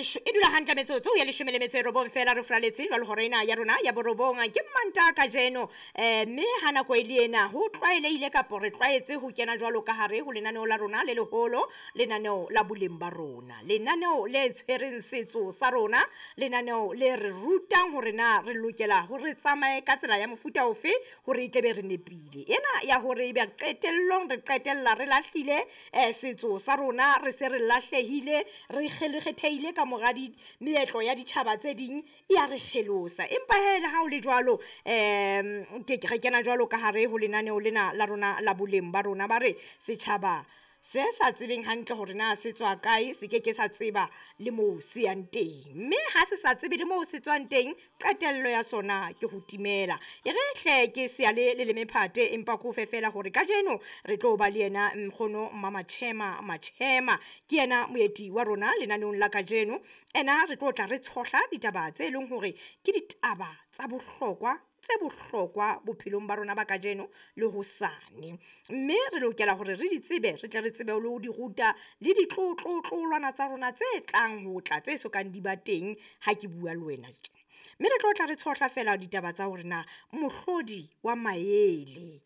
E dula hantle metsotso ya 19 fela re furaletse jwalo hora ena ya rona ya borobong. Ke Mmantaha kajeno, mme ha nako e le ena ho tlwaelehile kapo re tlwaetse ho kena jwalo ka hare ho lenaneo la rona le leholo, lenaneo la boleng ba rona, lenaneo le tshwereng setso sa rona, lenaneo le re rutang hore na re lokela hore re tsamaye ka tsela ya mofuta ofe hore e tle be re nepile. Ena ya hore ebe qetellong re qetella re lahlile setso sa rona, re se re lahlehile, re kgelekgetheile ka mora di meetlo ya ditjhaba tse ding, ya re kgelosa. Empa hee le ha o le jwalo, ke re kena jwalo ka hare ho lenaneo lena la rona la boleng ba rona. Ba re setjhaba se sa tsebeng hantle hore na se tswa kae, se ke ke sa tseba le moo se yang teng, mme ha se sa tsebe le moo se tswang teng, qetello ya sona ke ho timela. E re hle ke seyale le leme phate, empa ke o fe feela hore kajeno re tlo ba le yena nkgono Mamatjhema Matjhema, ke yena moeti wa rona lenaneong la kajeno. Ena re tlo tla re tshohla ditaba tse leng hore ke ditaba tsa bohlokwa, tse bohlokwa bophelong ba rona ba kajeno le hosane. Mme re lokela hore re di tsebe, re tle re tsebe le ho di ruta le ditlotlotloolwana tsa rona tse tlang ho tla, tse sokang di ba teng ha ke bua le wena tje. Mme re tlo tla re tshohla fela ditaba tsa hore na mohlodi wa maele,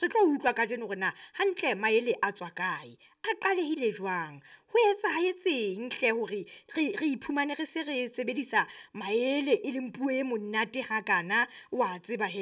Re tlo utlwa kajeno hore na hantle maele a tswa kae, a qalehile jwang, ho etsahetseng hle hore re iphumane re se re sebedisa maele e leng puo e monate hakana, wa tseba hee.